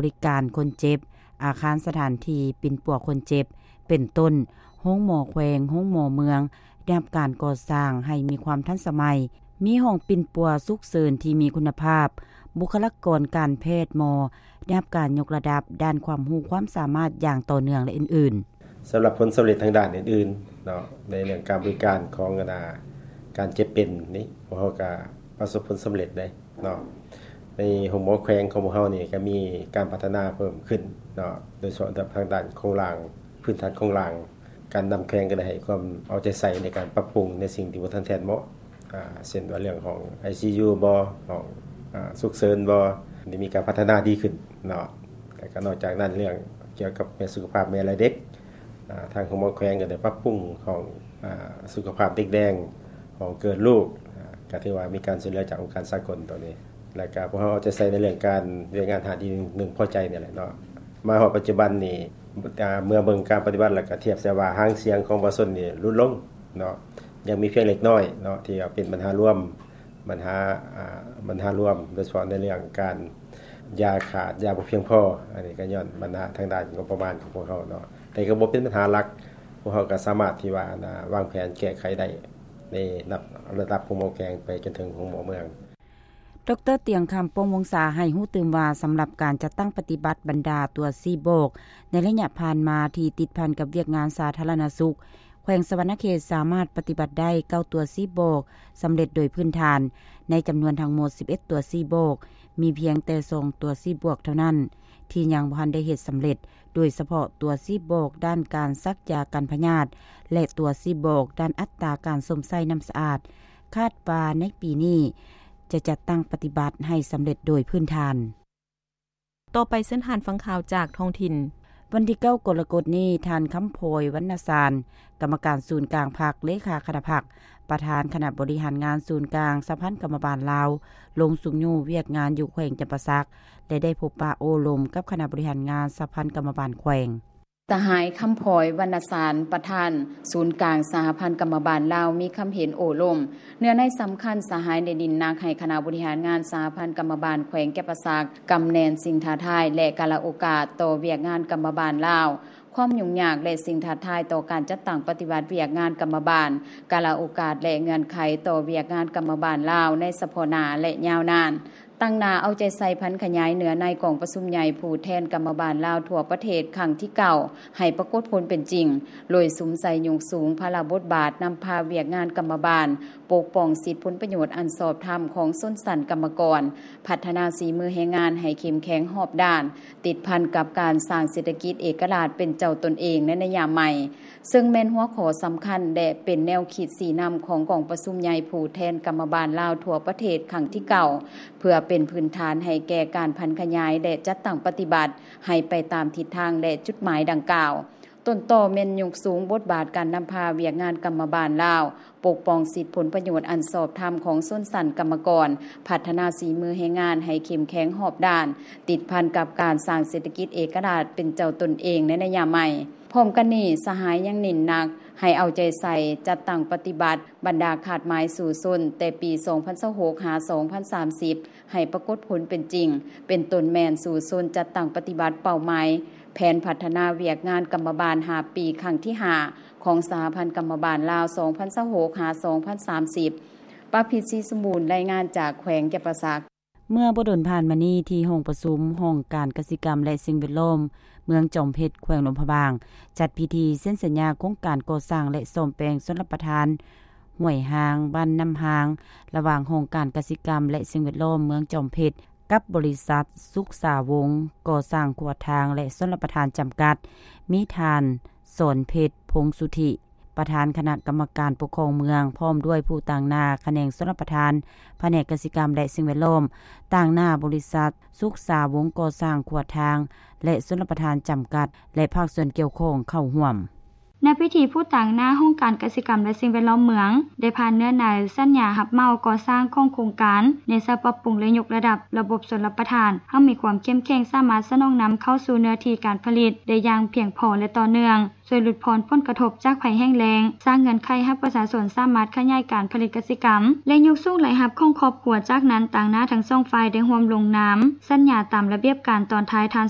ບໍລິການຄົນເຈັບ, ອາຄານສະຖານທີ່ປິ່ນປົວຄົນເຈັບ ເປັນຕົ້ນ ໂຮງໝໍແຂວງ, ໂຮງໝໍເມືອງ ໄດ້ຮັບການກໍ່ສ້າງໃຫ້ມີຄວາມທັນສະໄໝ, ມີຫ້ອງປິ່ນປົວສຸກເສີນທີ່ມີຄຸນນະພາບ, ບຸກຄະລາກອນການແພດ, ໝໍ ໄດ້ຮັບການຍົກລະດັບດ້ານຄວາມຮູ້ຄວາມສາມາດຢ່າງຕໍ່ເນື່ອງ ແລະ ອື່ນໆ. ສຳລັບຜົນສຳເລັດທາງດ້ານອື່ນໆເນາະ ໃນເລື່ອງການບໍລິການຂອງ ອັນນ່າ ການເຈັບເປັນນີ້ ພວກເຮົາກໍປະສົບຜົນສຳເລັດເດ້ເນາະ. ໃນໂຮງໝໍແຂວງຂອງພວກເຮົານີ້ ກໍມີການພັດທະນາເພີ່ມຂຶ້ນເນາະ ໂດຍສະເພາະທາງດ້ານໂຄງລ່າງ, ພື້ນຖານໂຄງລ່າງ. ການນຳແຂວງກໍໄດ້ໃຫ້ຄວາມເອົາໃຈໃສ່ໃນການປັບປຸງໃນສິ່ງທີ່ບໍ່ທັນແທດເໝາະ ອາ ເຊັ່ນວ່າເລື່ອງຫ້ອງໄອຊີຢູບໍ ຫ້ອງ ອາ ສຸກເສີນບໍ ໄດ້ມີການພັດທະນາດີຂຶ້ນເນາະ. ແລ້ວກໍນອກຈາກນັ້ນ ເລື່ອງກ່ຽວກັບແມ່ສຸຂະພາບແມ່ ແລະ ເດັກ ອາ ທາງໂຮງໝໍແຂວງກໍໄດ້ປັບປຸງຫ້ອງ ອາ ສຸຂະພາບເດັກແດງ, ຫ້ອງເກີດລູກ ອາ ກໍຖືວ່າມີການຊ່ວຍເຫຼືອຈາກອົງການສາກົນໂຕນີ້. ແລ້ວກໍພວກເຮົາເອົາໃຈໃສ່ໃນເລື່ອງການວຽກງານ ຫ້າດີ ໜຶ່ງພໍໃຈນີ້ແຫຼະເນາະ. ມາຮອດປັດຈຸບັນນີ້ ອາ ເມື່ອເບິ່ງການປະຕິບັດ ແລ້ວກໍທຽບໃສ່ວ່າຫາງສຽງຂອງປະຊາຊົນນີ້ຫຼຸດລົງເນາະ, ຍັງມີພຽງເລັກນ້ອຍເນາະ ທີ່ວ່າເປັນບັນຫາລວມ ບັນຫາ ອາ ບັນຫາລວມ ໂດຍສະເພາະໃນເລື່ອງການຢາຂາດ, ຢາບໍ່ພຽງພໍ. ອັນນີ້ກໍຍ້ອນບັນຫາທາງດ້ານງົບປະມານຂອງພວກເຮົາເນາະ, ແຕ່ກໍບໍ່ເປັນບັນຫາຫຼັກ. ພວກເຮົາກໍສາມາດທີ່ວ່າ ອັນນ່າ ວາງແຜນແກ້ໄຂໄດ້ ໃນລະດັບໂຮງໝໍແຂວງໄປຈົນເຖິງໂຮງໝໍເມືອງ. ດຣ ຕຽງຄຳ ປອງວົງສາ ໃຫ້ຮູ້ຕື່ມວ່າ ສຳລັບການຈັດຕັ້ງປະຕິບັດບັນດາຕົວຊີ້ບອກ ໃນໄລຍະຜ່ານມາທີ່ຕິດພັນກັບວຽກງານສາທາລະນະສຸກ, ແຂວງສະຫວັນນະເຂດສາມາດປະຕິບັດໄດ້ເກົ້າຕົວຊີ້ບອກສຳເລັດໂດຍພື້ນຖານ. ໃນຈຳນວນທັງໝົດສິບເອັດຕົວຊີ້ບອກ, ມີພຽງແຕ່ສອງຕົວຊີ້ບອກເທົ່ານັ້ນ ທີ່ຍັງບໍ່ທັນໄດ້ເຮັດສຳເລັດ, ໂດຍສະເພາະຕົວຊີ້ບອກດ້ານການສັກຢາກັນພະຍາດ ແລະ ຕົວຊີ້ບອກດ້ານອັດຕາການຊົມໃຊ້ນ້ຳສະອາດ. ຄາດວ່າໃນປີນີ້ຈະຈັດຕັ້ງປະຕິບັດໃຫ້ສຳເລັດໂດຍພື້ນຖານ. ຕໍ່ໄປເຊີນທ່ານຟັງຂ່າວຈາກທ້ອງຖິ່ນ. ວັນທີເກົ້າ ກໍລະກົດນີ້, ທ່ານ ຄຳພອຍ ວັນນະສານ ກຳມະການສູນກາງພັກ, ເລຂາຄະນະພັກ, ປະທານຄະນະບໍລິຫານງານສູນກາງສະຫະພັນກຳມະບານລາວ ລົງຊຸກຍູ້ວຽກງານຢູ່ແຂວງຈຳປາສັກ ແລະ ໄດ້ພົບປະໂອ້ລົມກັບຄະນະບໍລິຫານງານສະຫະພັນກຳມະບານແຂວງ. ສະຫາຍ ຄຳພອຍ ວັນນະສານ ປະທານສູນກາງສະຫະພັນກຳມະບານລາວ ມີຄຳເຫັນໂອ້ລົມເນື້ອໃນສຳຄັນ. ສະຫາຍໄດ້ເນັ້ນໜັກໃຫ້ຄະນະບໍລິຫານງານສະຫະພັນກຳມະບານແຂວງຈຳປາສັກ ກຳແໜ້ນສິ່ງທ້າທາຍ ແລະ ກາລະໂອກາດຕໍ່ວຽກງານກຳມະບານລາວ, ຄວາມຫຍຸ້ງຍາກ ແລະ ສິ່ງທ້າທາຍຕໍ່ການຈັດຕັ້ງປະຕິບັດວຽກງານກຳມະບານ, ກາລະໂອກາດ ແລະ ເງື່ອນໄຂຕໍ່ວຽກງານກຳມະບານລາວໃນສະເພາະໜ້າ ແລະ ຍາວນານ. ຕັ້ງໜ້າເອົາໃຈໃສ່ຜັນຂະຫຍາຍເນື້ອໃນກອງປະຊຸມໃຫຍ່ຜູ້ແທນກຳມະບານລາວທົ່ວປະເທດຄັ້ງທີເກົ້າ ໃຫ້ປາກົດຜົນເປັນຈິງ, ໂດຍສຸມໃສ່ຍົກສູງພາລະບົດບາດນຳພາວຽກງານກຳມະບານ, ປົກປ້ອງສິດຜົນປະໂຫຍດອັນຊອບທຳຂອງຊົນຊັ້ນກຳມະກອນ, ພັດທະນາສີມືແຮງງານໃຫ້ເຂັ້ມແຂງຮອບດ້ານ, ຕິດພັນກັບການສ້າງເສດຖະກິດເອກະລາດເປັນເຈົ້າຕົນເອງໃນໄລຍະໃໝ່, ເຊິ່ງແມ່ນຫົວຂໍ້ສຳຄັນ ແລະ ເປັນແນວຄິດຊີ້ນຳຂອງກອງປະຊຸມໃຫຍ່ຜູ້ແທນກຳມະບານລາວທົ່ວປະເທດຄັ້ງທີເກົ້າ ເພື່ອເປັນພື້ນຖານໃຫ້ແກ່ການຜັນຂະຫຍາຍ ແລະ ຈັດຕັ້ງປະຕິບັດໃຫ້ໄປຕາມທິດທາງ ແລະ ຈຸດໝາຍດັ່ງກ່າວ. ຕົ້ນຕໍແມ່ນຍົກສູງບົດບາດການນຳພາວຽກງານກຳມະບານລາວ, ປົກປ້ອງສິດຜົນປະໂຫຍດອັນຊອບທຳຂອງຊົນຊັ້ນກຳມະກອນ, ພັດທະນາສີມືແຮງງານໃຫ້ເຂັ້ມແຂງຮອບດ້ານ, ຕິດພັນກັບການສ້າງເສດຖະກິດເອກະລາດເປັນເຈົ້າຕົນເອງໃນໄລຍະໃໝ່. ພ້ອມກັນນີ້, ສະຫາຍຍັງເນັ້ນໜັກໃຫ້ເອົາໃຈໃສ່ຈັດຕັ້ງປະຕິບັດບັນດາຄາດໝາຍສູ້ຊົນແຕ່ປີສອງພັນຊາວຫົກ ຫາ ສອງພັນສາມສິບ ໃຫ້ປາກົດຜົນເປັນຈິງ, ເປັນຕົ້ນແມ່ນສູ້ຊົນຈັດຕັ້ງປະຕິບັດເປົ້າໝາຍແຜນພັດທະນາວຽກງານກຳມະບານຫ້າປີ ຄັ້ງທີຫ້າ ຂອງສະຫະພັນກຳມະບານລາວ ສອງພັນຊາວຫົກ ຫາ ສອງພັນສາມສິບ. ປະພິດ ສີສົມບູນ ລາຍງານຈາກແຂວງຈຳປາສັກ. ເມື່ອບໍ່ດົນຜ່ານມານີ້, ທີ່ຫ້ອງປະຊຸມຫ້ອງການກະສິກຳ ແລະ ສິ່ງແວດລ້ອມ ເມືອງຈອມເພັດ ແຂວງຫຼວງພະບາງ ຈັດພິທີເຊັນສັນຍາໂຄງການກໍ່ສ້າງ ແລະ ສ້ອມແປງຊົນລະປະທານຫ້ວຍຮ່າງ ບ້ານນ້ຳຮ່າງ ລະຫວ່າງຫ້ອງການກະສິກຳ ແລະ ສິ່ງແວດລ້ອມເມືອງຈອມເພັດ ກັບບໍລິສັດສຸກສາວົງ ກໍ່ສ້າງຂົວທາງ ແລະ ຊົນລະປະທານຈຳກັດ, ມີທ່ານ ສອນເພັດ ພົງສຸທິ ປະທານຄະນະກຳມະການປົກຄອງເມືອງ ພ້ອມດ້ວຍຜູ້ຕາງໜ້າຂະແໜງຊົນລະປະທານ, ພະແນກກະສິກຳ ແລະ ສິ່ງແວດລ້ອມ, ຕາງໜ້າບໍລິສັດສຸກສາວົງກໍ່ສ້າງຂົວທາງ ແລະ ຊົນລະປະທານຈຳກັດ ແລະ ພາກສ່ວນກ່ຽວຂ້ອງເຂົ້າຮ່ວມ. ໃນພິທີ ຜູ້ຕາງໜ້າຫ້ອງການກະສິກຳ ແລະ ສິ່ງແວດລ້ອມເມືອງ ໄດ້ຜ່ານເນື້ອໃນສັນຍາຮັບເໝົາກໍ່ສ້າງຂອງໂຄງການ ໃນສະບັບປັບປຸງ ແລະ ຍົກລະດັບລະບົບຊົນລະປະທານ ໃຫ້ມີຄວາມເຂັ້ມແຂງ ສາມາດສະໜອງນຳເຂົ້າສູ່ເນື້ອທີ່ການຜະລິດໄດ້ຢ່າງພຽງພໍ ແລະ ຕໍ່ເນື່ອງ, ຊ່ວຍຫຼຸດຜ່ອນຜົນກະທົບຈາກໄພແຫ້ງແລ້ງ, ສ້າງເງື່ອນໄຂໃຫ້ປະຊາຊົນສາມາດຂະຫຍາຍການຜະລິດກະສິກຳ ແລະ ຍົກສູງລາຍຮັບຂອງຄອບຄົວ. ຈາກນັ້ນ, ຕາງໜ້າທັງສອງຝ່າຍໄດ້ຮ່ວມລົງນາມສັນຍາຕາມລະບຽບການຕອນທ້າຍທ່ານ